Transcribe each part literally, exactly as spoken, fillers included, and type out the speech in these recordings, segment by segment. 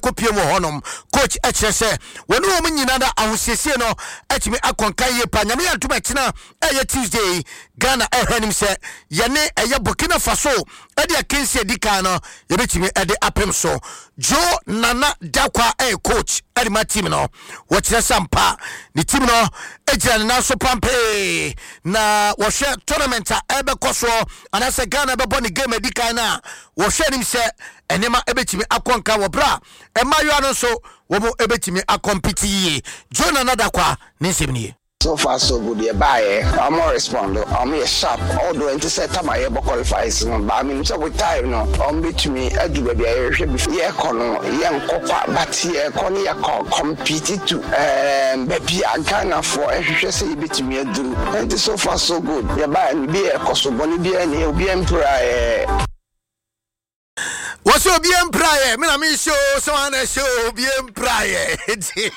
Kɔpie mu wɔ hɔnom, coach ɛkyerɛ sɛ wɔne wɔn nyinaa da ahosiesie no atumi akɔnka yie pa. Nyame yɛ ntom, ɛkyena ɛyɛ Tuesday, Ghana ɛhwɛ anim sɛ yɛne ɛyɛ Burkina Faso ɛde akansi adi kan no, yɛbɛtumi ɛde apem so. Joe Nana Dakwa ɛyɛ coach ɛde ma team no. Wɔkyerɛ sɛ mpa ne team no gyina ne nan so pampee na wɔhwɛ tournament a ɛbɛkɔ soɔ anaasɛ Ghana bɛbɔ ne game adi kan no a, wɔhwɛ anim sɛ nneɛma ɛbɛtumi akɔ nka wɔ berɛ a mmaayewa no nso wɔn ɛbɛtumi akɔmpiti yie. Joe Nana Dakwa ne nsɛm nie. So far so good. Yɛ baayɛ, ɔmo respond, ɔmo yɛ sharp, although nti sɛ time a yɛbɔ qualifiers no baa mi sɛ with time no ɔmo betumi adu baabi a yɛhwɛ bi. Yɛkɔ no, yɛnkɔ kwa, but yɛkɔ no, yɛkɔ compete to ɛɛm baabi a Ghanafoɔ ɛhwehwɛ sɛ yɛbɛtumi aduru. Nti so far so good. Yɛ baayɛ no bi yɛ kɔ so bɔne bi ɛni obi mpira yɛ. Wɔsɛ obi mpraeɛ me na mehyɛ o, sɛ wana hyɛ o, obi mpraeɛ. Nti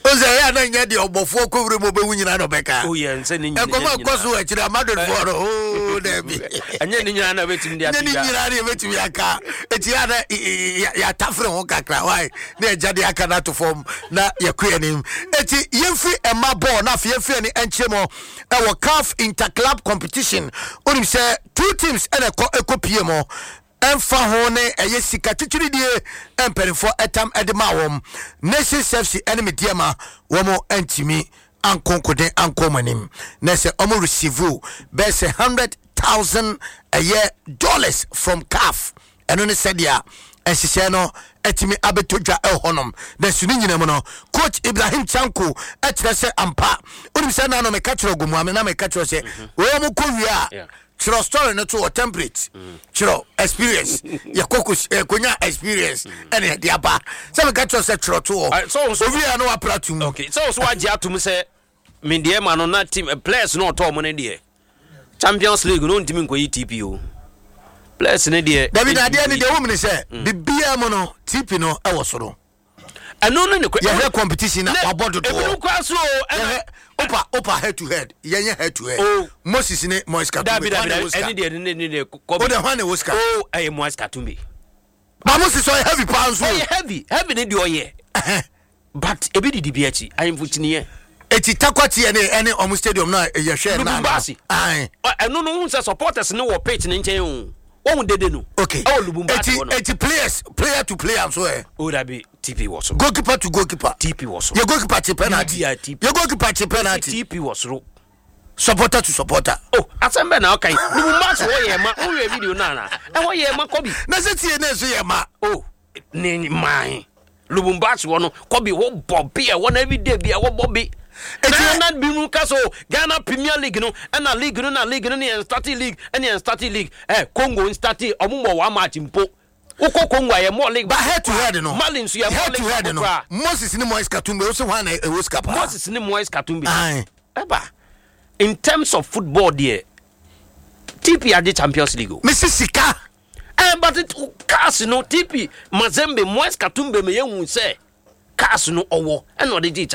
o sɛ ɛyɛ a na nyɛ deɛ ɔbɔfoɔ kɔwura mu ɔbɛwu nyina na ɔbɛka. Oh, yeah, nsɛ ne nyina- Ɛnkɔmɔ ɛkɔ so wɔ akyiri Amadodfoɔ no o, daabi. Ɛnyɛ ne nyinaa na bɛtumi de nyɛ ne ato dwa. Nyinaa ne yɛbɛtumi aka. Ɛti a na yɛatafere ho kakra wae na yɛgya de aka no ato fam na yɛkɔ anim. Ɛti yɛmfiri ɛma bɔɔl na afei yɛmfiri ani ɛnkyerɛ mu ɛwɔ CAF Interclub Competition. Wonim sɛ two teams ɛna ɛkɔ ɛkɔ pie mu, ɛmfa ho ne ɛyɛ sika twitwiridie mpanimfoɔ ɛtam ɛde maa wɔn. Nations F C ɛne Medeama, wɔn ɛntumi ankonkoden ankɔ wɔn anim na sɛ wɔn receive bɛyɛ sɛ hundred thousand ɛyɛ dollars from CAF. Ɛno ne sɛdeɛ nhyehyɛ no atumi abɛtɔ dwa ɛwɔ hɔnom. Na su ne nyina mu no, coach Ibrahim Chanko ɛkyerɛ sɛ ampa, wonim sɛ nano meka kyerɛ Ogomuame na meka kyerɛ sɛ wɔn mu kɔ wie a, Yeah. kyerɛ story no to wɔ template, kyerɛ experience, yɛkɔ yɛkɔnya experience ɛne yɛde aba sɛ meka kyerɛ sɛ kyerɛ to Ah, hɔ so- so- owie a na wapra tom. Okay, sɛ wo so wagye atom sɛ medeɛ ma no na team eh, players no ɔtɔɔ mo no deɛ, Champions League no ntumi nkɔyi T P o, players no deɛ. Dabi, na adeɛ ntumi ne nkɔyi. deɛ wom ne sɛ biribiaa mu no, T P no ɛwɔ soro. Ɛno no ne kɔ- Yɛhwɛ competition na Ne- wabɔ dodoɔ. Ebinom koraa so o, ɛna Yɛhwɛ opa opa head to head, yɛnyɛ head to head. Oh. Moses ne Moise Katumbi, Dabi, dabi. hwan na Dabi, ɛwɔ sika? ɛne deɛ ne ne ne kɔbi. O de, hwan na ɛwɔ sika? O, ɛyɛ Moise Katumbi. Ba Moses ɔyɛ heavy paa nso. Ɔyɛ heavy, heavy ne deɛ ɔyɛ, but ebi didi bi akyi ahemfo kyiniiɛ. Eti Tarkwa teɛ ne ɛne ɔmo stadium na yɛhwɛ na Lubumbashi. Aye. Ɔ- ɛno no, wohu sɛ supporters ne wɔ pitch ne nkyɛn o, wɔhu dede no okay ɛwɔ Lubumbashi eti hɔ no. Eti players, player to player nso ɛ? O dabi, T P wɔ soro. Goalkeeper to goalkeeper? T P wɔ soro. Yɛ goalkeeper kye penalty? Biribiara T P. Yɛ goalkeeper kye penalty? T P wɔ soro. Supporter to supporter? O, asɛm bɛ na ɔka yi, Lubumbashi hɔ yɛ ma wohwɛ video no ana ɛhɔ yɛ ma kɔbi. Na sɛ tie ne nso yɛ ma. O, ne man Lubumbashi hɔ no, kɔbi hɔ bɔ bi ɛwɔ no everyday bi ɛwɔ bɔ bi. Eti- Na na bi mu ka so Ghana Premier League no, ɛna league no na league no ne yɛn start league, ɛne yɛn start league ɛ Congo n start, ɔmo mɔ one match mpo. Wokɔ Congo a, yɛ mɔ league. Ba head to head no? Mali nso yɛ mɔ Head to league head no koraa. Moses ne Moise Katumbi, o sɛ hwan na ɛwɔ sika paa? Moses ne Moise Katumbi? Aye. Ɛba in terms of football deɛ, T P agye Champions League o. Mesi sika. Eh, but it, cars no, T P Mazembe, Moise Katumbi me yɛhu sɛ cars no ɔwɔ ɛna ɔde gye.